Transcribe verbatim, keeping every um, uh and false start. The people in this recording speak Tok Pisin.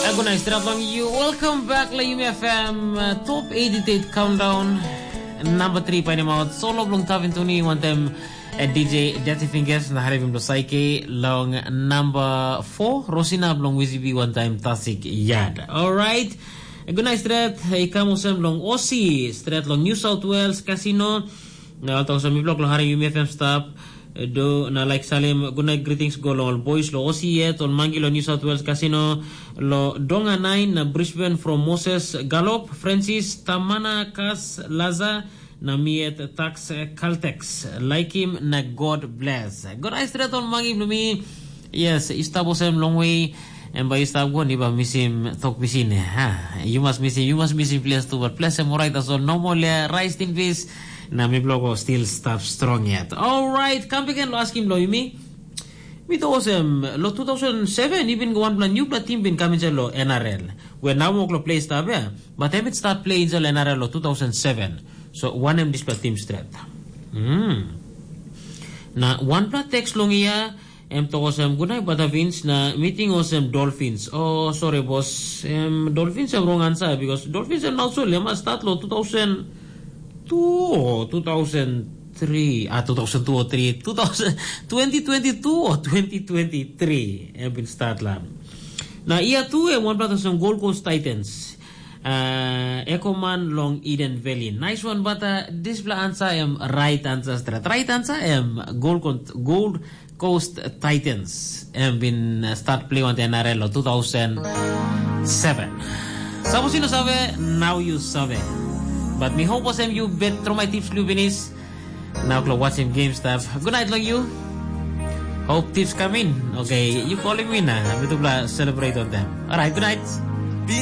Gunai stret long you. Welcome back la Yumi F M uh, Top eighty-eight Countdown. Number three painting out solo blong Tavin Tuni one time at D J Dirty Fingers na Harivim Dosaike long number four Rosina blong Wizibi one time Tasik Yad. Alright. Gunai stret, i kam osem long Osi, stret long New South Wales Casino. Na alta osem mi blok lo hari Yumi F M stap. Do na like salim good night greetings go long ol boys lo Osi yet ol mangi lo New South Wales Casino, lo Donga nine na Brisbane from Moses Galop, Francis Tamana Kas Laza, na mi yet Tax Caltex. Like him na God bless. God I stret ol mangi blo mi. Yes, i stap osem long way. Em bai i stap go ni ba misim tok pisin. Ha, you must misim, you must misim ples tu, but ples em orait tasol no more le rest in peace. Na mi bloko still stap strong yet. Alright, kam piken lo askim lo yumi. Mi to osem lo two thousand seven i bin go wanpela newpela team bin kam inside lo N R L. Where now mok lo play stap ya, but em it start play inside N R L lo two thousand seven. So one em dispela team stret. Hmm. Na wanpela text long ia em tok olsem, "Good night, Bata Vince, na meeting olsem Dolphins." Oh, sorry, boss. Em Dolphins em wrong answer, because Dolphins em not so lema start lo two thousand two or two thousand three, ah, two thousand two or three, two thousand, twenty twenty-two or twenty twenty-three em bin start la. Na ia tu em wanpela olsem Gold Coast Titans. Uh, Ekoman long Eden Valley. Nice one, but uh, dispela answer em right answer stret. Right answer em Gold, Con- Gold Coast Titans em bin uh, start play on the N R L lo two thousand seven. Sapos you no save, now you save. But mi hope osem you bet through my tips lu binis. Now klo watching game stuff. Good night long you. Hope tips come in. Okay, you calling me na. Mitupla celebrate on them. Alright, good night.